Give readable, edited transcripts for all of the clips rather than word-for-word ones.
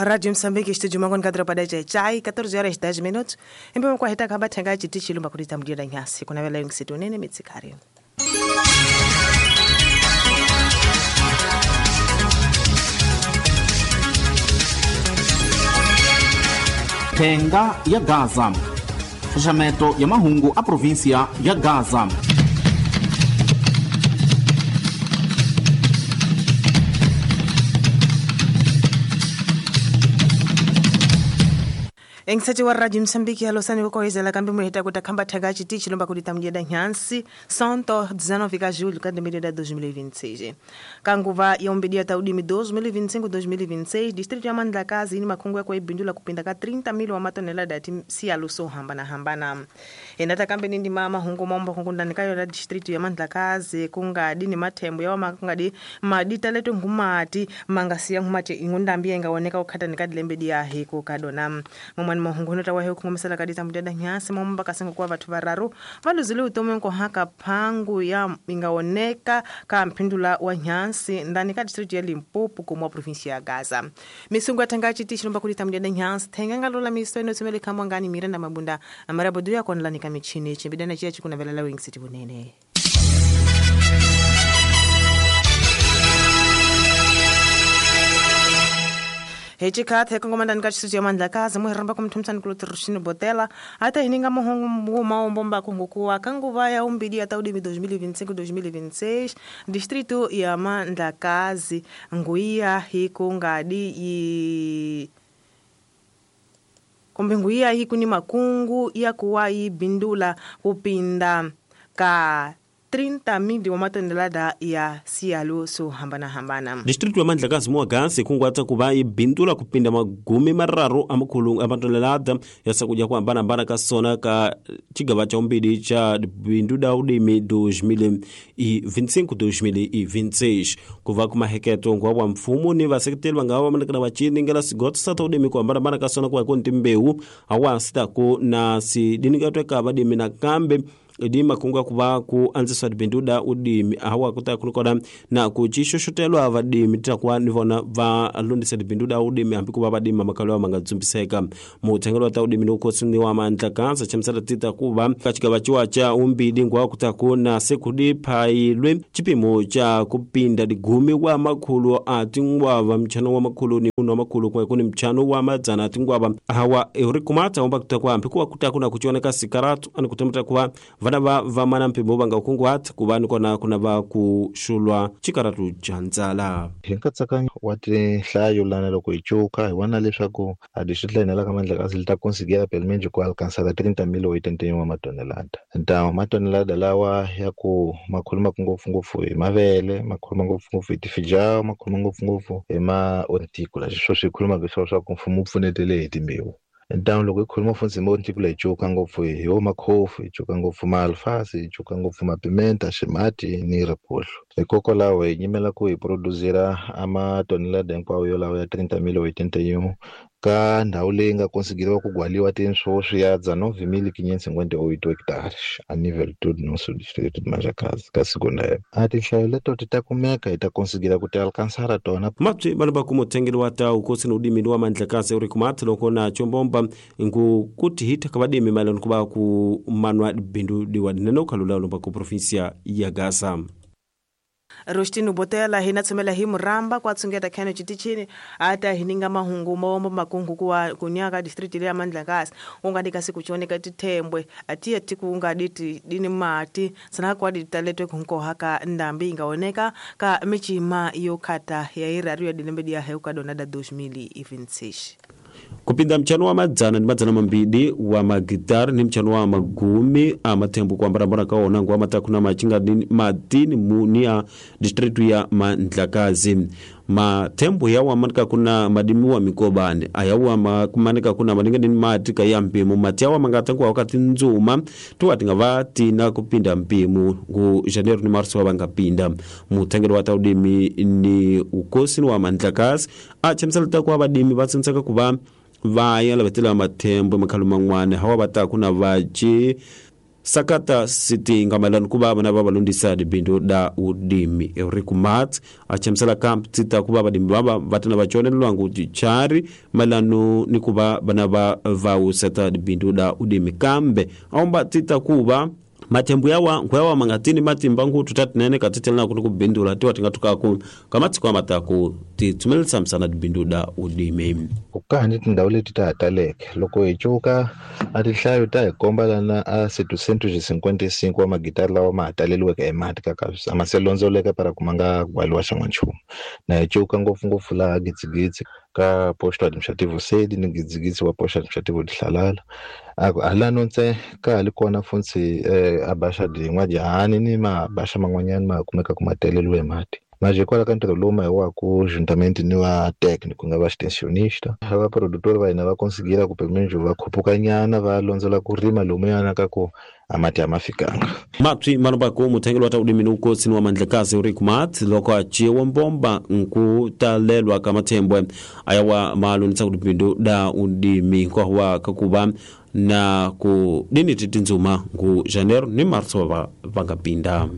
Rádio Moçambique, estúdio Mangon Kadro para Chai, 14 horas 10 minutos. Embemo kwa hitaka bathenga chitichi lumba kulita mdira nyasi. Kuna vela yungisitu nene mitsikari. Thenga ya Gaza. Xaxameto ya mahungu a província ya Gaza. Engisati wa Radio Msambiki alosani kukohezela kambi muhita kuta khamba thaga chitichi lomba kulita mjeda nyansi santo 19 ka julho ka 2026. Kanguva ya umbidia taudimi 2025-2026 distrito ya Mandlakazi ni makhungu ya kuibindula kupinda ka 30 mil wa matonelada ti sialuso hambana hambana. Enata kambi nindi mama hungu mombo kungundani kayo la distrito ya Mandlakazi kungadi ni mathembo ya makungadi madita letu ngumati mangasiya ngumati ingundambi engaoneka ukhata nikadilembe ya hiko kadona. Momani mahungu ta wahe kungomisela kadita mudada nyasi momba kasengo kwa vathu vararu valuzile utomi nkohaka phangu ya ingaoneka ka mphindula wa nyasi ndani ka district ya Limpopo kumwa province ya Gaza. Misungu atanga chiti chilomba kulita mudada nyasi thenga ngalola miso ino tsumele khamwa ngani Miranda Mabunda amarabodu ya konlani ka michini chimbidana chiya chikuna velela wing city bunene. Hechikathe kongomandani ka xisuti ya Mandlakazi muhiramba kumthumsani kulotiruxini botela ata hininga muhungu maombomba kungukuwa kanguva ya umbili ya taudimi 2025-2026 distrito ya Mandlakazi nguiya hikungadi yi kumbe nguiya hikuni makungu ya kuwa yibindula kupinda ka 30 mil wa matonelada ya sialo so hambana hambana. Distrito ya Mandlakazi muwagasi kungwata kuva ibindula kupinda magumi mararu amakhulu amatonelada ya sakudya kuhambana hambana ka sona ka chigava cha umbili cha bindu da udimi 2025-2026 kuva kumaheketo ngwa wa mfumo ni vaseketeli vangava vamanekana vachiningela sigoto sata udimi kuhambana hambana ka sona kuva koni timbewu awasitaku na sidinikatweka vadimi nakambe idi makungu kuva ku anziswa dibinduda udimi awa kuta kunikona na kuchixoxotelwa vadimi takuva ni vona va lundisa dibinduda udimi hambi kuva vadimi makalo manga dzumbiseka muthengelo wa ta udimi ni ukhosi ni wa Mandlakazi chamusela tita kuva ka chigava chiwa cha umbili ngwa kutaku na sekudiphayilwe chipimo cha kupinda digumi wa makhulu a tingwava mchano wa makhulu ni uno wa makhulu kumwe kuni mchano wa madzana a tingwava awa uri kumata omba kutaku hambi kuva kutaku na kuchioneka sikaratu ani kutemeta kuva vana va vamana mpimo vanga kunguhata kuva nikona kuna va kuxulwa xikaratu xa ndzala. Hi nkatsakanyo wa tinhlayo lana loko hi cuka hi vona leswaku a distrito la hina la ka Mandlakazi li ta conseguir pelo menos ku alcançar 30.081 wa matonelada. Então matonelada lawa ya ku ma khulumaka ngopfungopfu hi mavele, ma khuluma ngopfungopfu hi tifijao, ma khuluma ngopfungopfu hi ma horticola, sweswo swi khulumaka swona swa ku mfumo wu pfunetele hi timbewu. Então loko hi khuluma funtsi hi horticola hi cuka ngopfu hi wo makhofu, hi cuka ngopfu maalfasi, hi cuka ngopfu mapimenta, ximati ni riphuhlu. Hikokwalaho hi nyimela ku hi producera a matonelada hinkwawo yolawo ya 30.081 ka ndhawu leyi nga konsigeriwa ku gwaliwa tinswo ya 19.558 hectares a nível todo nosso distrito de Manjakazi ka segunda época. A tinhlayo leto ti ta kumeka hi ta konsigera ku ti alcançar tona. Mapyi vanhu va kuma uthengeli wa ta ukosi ni udimi wa Mandlakazi uri kumata loko na chombomba ngu kuti hita ka vadimi mayelana ku va ku manwa bindu diwa dinene ukhalula lomba ku provinsia ya Gaza. Rostino Botela hina tsumela hi muramba kwa tsungeta khano chitichini ata hininga mahungu maombo makungu kuwa kunyaka district ya Mandlakazi ungadi kasi kuchoneka tithembwe atiye tikungadi dini mati sana kwa ditaletwe kunkohaka ndambi ingaoneka ka michima yokhata ya iraru ya dilembe dia heuka donada 2026. Kupinda mchano wa madzana ni madzana mambili wa magitari ni mchano wa magumi a mathembo kuambarambara kaona ngwa matakuna machinga madini munia district ya Mandlakazi. Mathembo yawa manika kuna madimi wa mikobani ayawa kumanika kuna maninga ni mati ka mpimo mati yawa mangatangwa wakati nzuma tuwa tingava tina kupinda mpimo ku janeiro ni marso wa bangapinda muthengelo wa taudimi ni ukosi wa Mandlakazi a chemsela takwa badimi batsintsaka kuva vaya lavetela mathembo makhalo man'wana hawa va ta ku na vaci Sakata siti ngamalani kuva vana va valondisa dibindu da udimi Eurico Mat achamisela kamp tita kuva vadimi vava vatana va conelelwangu tichari malano ni kuva vana va vauseta dibindu da udimi kambe aomba tita kuva mathembu yawa nkhwewa mangatini matimba nkuthu tatinene katitelena kuti kubindula tiwa tingatukaku kamatsiko amataku titsumelisa msana dibindu da udimi ku ni tindhawu leti ta ha taleke loko hi cuka a tinhlayo ta hi komba lana a 755 wa magitari lawa ma ha taleliweke hi mati kaka a ma se londzoleka para ku ma nga gwaliwa xan'wanchumu na hi cuka ngopfungopfu laha gitsigitsi ka posto administrativo sedi ni gitsigitsi wa posto administrativo dihlalala halano ntse ka ha li kona funtsi a baxa din'wajahani ni mabaxa man'wanyani ma kumeka ku ma taleliwe hi mati mas hikwalaho ka ntirho lowu ma hi waku juntamente ni va técnico nga va extensionista va produtor va hina va konsigira ku pelo menos va khupukanyana va londzela ku rima lomuyana ka ku a mati a ma fikanga mapsi manobaku muthengeli wa ta udimi ni ukosini wa mandlekazi Eurico Mat loko a ciwa mbomba nkutalelwa ka mathembwe ayawa malonisa kuti bindu da udimi nkohuwa kakuva na ku dini titinzuma ngu janeiro ni marso va nga pinda.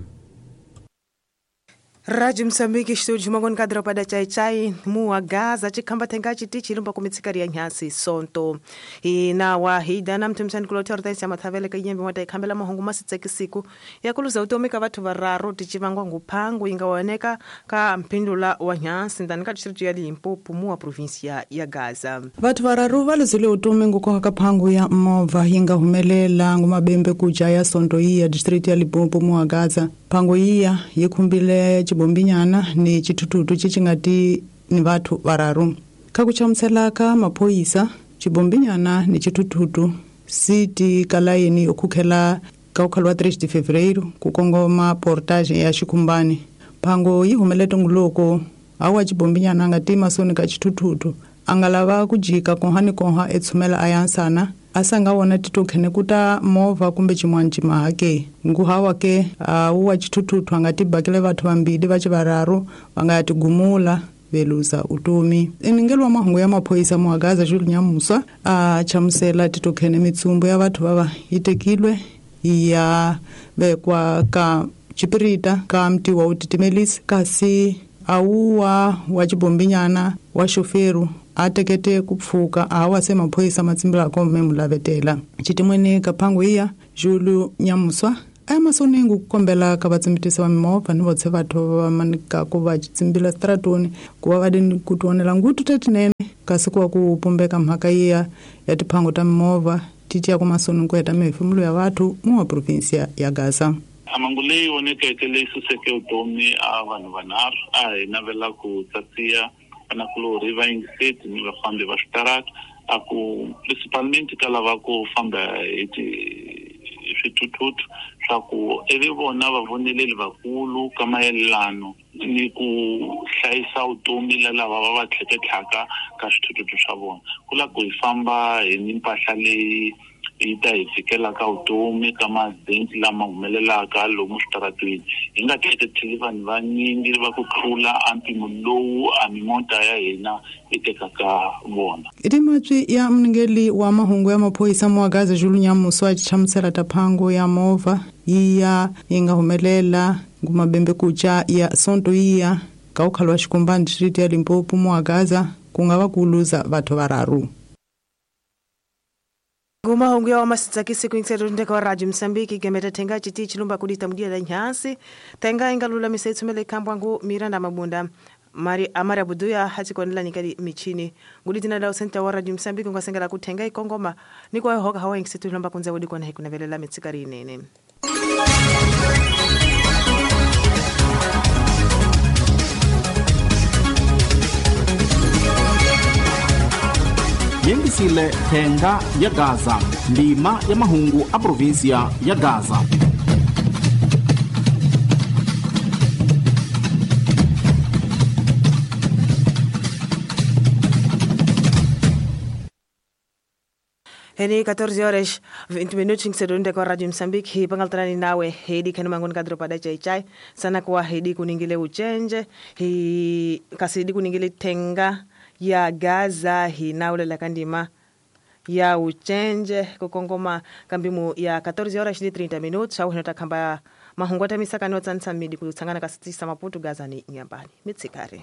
Rádio Moçambique, estúdio Mangoni Kadropa da Chai Chai, Mua Gaza, Chikamba Tenga Chitichi, Lumba Kumitsikari ya Nyasi, Sonto. Ina wahida na mtumshani kulotea ortensia mathavele ka yembe mwata ikambela mahungu masitseki siku. Ya kuluza utomika watu vararo, tichivangwa ngupangu, ingawaneka ka mpindula wa Nyasi, ndanika distritu ya Limpopo, mua provincia ya Gaza. Watu vararu valuzile utomi ngukonga kapangu ya mova, inga humelela, ngumabembe kuja ya Sonto hii ya distritu ya Limpopo, mua Gaza. Pango iya yikumbile chibombinyana ni chitututu chichingati ni watu vararu. Kakuchamuselaka maphoyisa chibombinyana ni chitututu siti kalaini okukhela kaukhalwa 3 de fevereiro kukongoma portage ya xikumbani. Pango yi humele tongoloko awa chibombinyana anga masoni ka chitututu angalava kujika konha ni konha etshumela ayansana asanga wona titokhene kuta movha kumbe xin'wana ximahake nguhawa ke uwa chitututu anga tibakele vathu vambili va xivararu va nga ya tigumula veluza utomi. Eningelo wa mahungu ya maphoyisa muhagaza Jules Nyamusa a chamusela titokhene mitsumbu ya vathu vava yi tekilwe ya vekwa ka chipirita ka mtiwa wu titimelisi kasi awuwa wa xibombinyana wa xoferu a tekete kupfuka awa se maphoyisa matsimbelako memulavetela xitimweni kaphangu iya Jules Nyamuswa a masonengu kukombela ka vatsimbitisi va mimovha ni votse vathu va manikako va tsimbila stratoni ku va va dini ku tionela ngutu tatinene kasi ku va ku pumbeka mhaka iya ya tiphangu ta mimovha ti tiya ku masonengu ku heta mihefemulo ya vathu muwa provinsia ya Gaza. Amangu leyi vonekeke leyi suseke vutomi a vanhu vanharhu a hi navela ku tsatsiya vanakulorhi va yingiseti ni vafambi va switarata a ku principalmente ka lava ku famba hi swithuthuthu swa ku ivi vona va voneleli vakulu ka mayelano ni ku hlayisa vutomi la lava va va tlheketlhaka ka swithuthuthu swa vona ku lava ku hi famba hi ni mpahla leyi yi ta hi fikela ka vutomi ka maaccident lama humelelaka lomu switaratweni hi nga tlheketheli vanhu vanyingi va ku tlula a mpimo lowu a mimota ya hina yi tekaka vona. I ya mningeli wa mahungu ya maphoyisa muhagaza Jules Nyamuswa a chamusela taphangu ya movha iya yi nga humelela ngumabembe kucha ya Sonto iya ka ukhalwa xikumbani district ya Limpopo muhagaza ku nga va ku luza vathu vararu. Ngumahungu ya masitsakisi kuinseto ndeka wa Radio Msambiki gemeta tenga chiti chilumba kudita mdia da nyansi tenga ingalula misetsu kambwangu Miranda Mabunda Mari Amara Buduya hatikonela nikali michini nguditina da usenta wa Radio Msambiki ngasengela kutenga ikongoma nikwa hoka hawa ingisetu lomba kunza wodi kona hekuna velela mitsikari nene. Yingisile thenga ya Gaza, ndima ya mahungu a provinsia ya Gaza. Heni 14 horas 20 minutos ngisedonde kwa Radio Msambiki hipangaltrani nawe hedi kanu mangoni kadropa da chai chai sana kwa hedi kuningile uchenje hi kasidi kuningile tenga ya Gaza hinaulela kandima Ya ucenje kukongoma kambimu ya 14 horas ni 30 minutos au hinota khamba mahungu atamisakani otsanisa midi kutsangana kasitisa Maputo, Gaza ni Nyambani. Mitsikari.